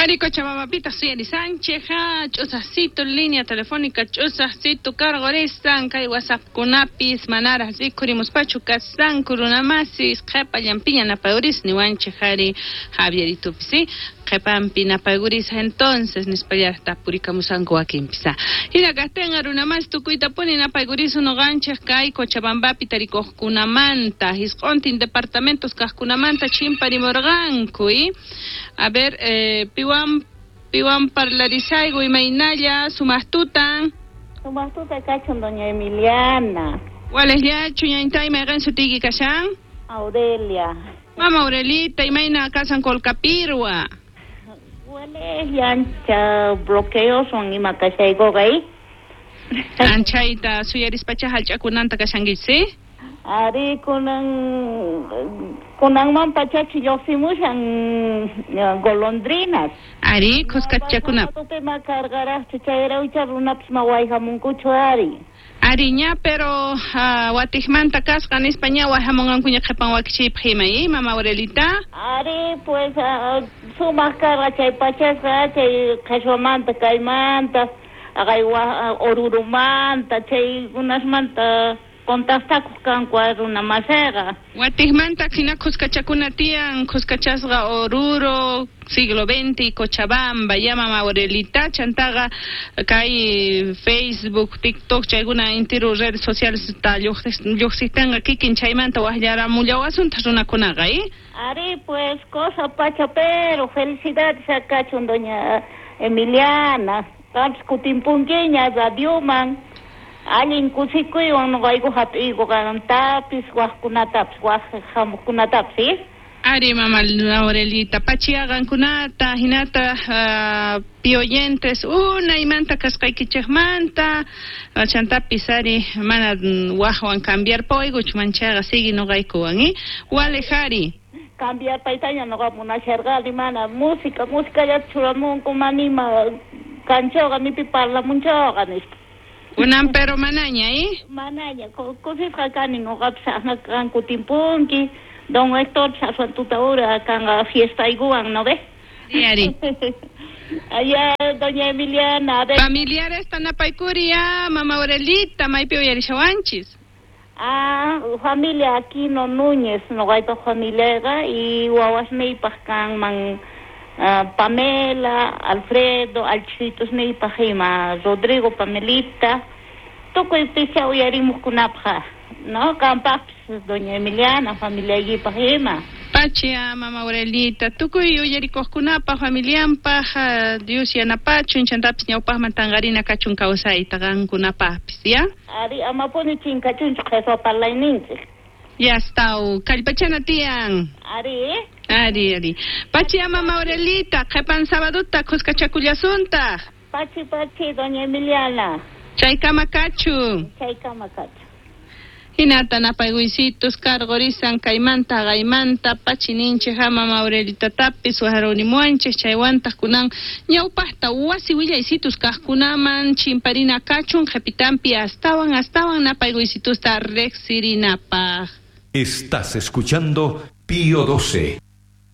Ari Cochabambapitaq suyarisanchik, ch'usaqcito línea telefónica ch'usaqcito karqurisan kay WhatsAppkunapis manaraq rikhurimuspachu kasqanku runamasis qhepallanpiña napayuris niwanchik ari Javieritupis, ¿sí? Qhepanpi napaykuris entonces nispallaraq tapurikamusanku wakinpis. Hina kaqtinqa runamasi tukuytapuni napaykurisun noqanchik kay Cochabambapi tarikuqkunamanta, hisq'untin departamentos kaqkunamanta chimparimurqanku, ¿y? A ver, piwan parlarisayku imaynalla sumaqtutan. Sumaqtuta kachun doña Emiliana. Walejllachu ñañtay mayqin sutiyki kashan? Aurelia. Mama Aurelita, imayna kasan Colcapirwa? Walejlla ancha bloqueoswan ima kashaykuqa, ¿eh? Anchayta suyarispacha hallch'akunanta kashankichis, ¿sí? Ari kunanman pachachi lluqsimushan golondrinas. Ari, khuskachakuna. Ma karqaraqchu chayrawcha runapis ma wayhamunkuchu ari. Ari ña, pero watiqmanta kasqa nispa ña wayhamunqankuña qhipan wakichiypaq ima, ¿eh, mama Aurelita? Ari, pues sumaq karqa chay pachasqa chay qhashwamanta kaymanta, aqay orurumanta, chaykunasmanta contactakuq kanku runa masiqa. Watiqmanta hina khuskachakuna tiyan, khuskachasqa Oruro, siglo XX, Cochabamba, ya mama Aurelita, chantaqa kay Facebook, TikTok, chaykuna intiru redes sociales ta lluqsiqtinqa kikin chaymanta waqllaramullawasuntaq runakunaqa, ¿eh? Ari, pues, cosa pacha, pero felicidades akachun doña Emiliana, qampis kutimpunkiña radioman. Allin kusikuywan noqayku hap'iyku qantapis, waqkunatapis, waq hamuqkunatapis, ¿sí? Ari, mama Aurelita, pachiaqankunata, hinata pioyentes, unaymanta kasqaykichikmanta, chantapis ari, mana waqwan cambiar pawaykuchu manchaqa sigui noqaykuwan, ¿eh? Wale ari. Cambiar paytaña noqa munasharqani, mana música, musicallata churamunku, manima kanchawqa, nipi parlamunchawqa, nispa. Kunan pero manaña, ¿eh? Manaña, kusisqa kani noqapis aqnaqa kutimpunki, don Héctor aswan tutaura kanqa fiestaykuwan, ¿no ve? Sí, ari. Allá, doña Emiliana, a ver. Familiares tanapaykuri ya, mama Aurelita, maypi uyarishawanchis. Ah, familia Aquino Núñez, noqaypaq familiaqa y wawasniypaq kanman Pamela, Alfredo, alchisitusniypaq ima, Rodrigo, Pamelita, tukuy picha uyarimuqkunapaq, ¿no? Qampaqpis, doña Emiliana, familiaykipaq ima. Pachia, mama Aurelita, tukuy uyarikuqkunapaq, familianpaq, Dios yanapachun, chantapis ñawpaqman tanqarina kachun kawsayta qankunapaqpis, ¿ya? Ari, amapuni chinkachunchu qheswa parlayninchik. Ya está, kallpachana tiyan. Ari, Ari, ari. Pachia, mama Aurelita, qhipan sabaduta khuskachakullasuntaq. Pachi, pachi, doña Emiliana. Chaykama kachun. Chaykama kachun. Hinata napaykuysitus karqurisan kaymanta qaymanta pachininchik mama Aurelitatapis wajarunimuanchik chaywantaq kunan ñawpaqta wasi willaysitus kaqkunaman chimparina kachun qhipitanpi astawan astawan napaykuysitusta riqsirinapaq. Estás escuchando Pío 12.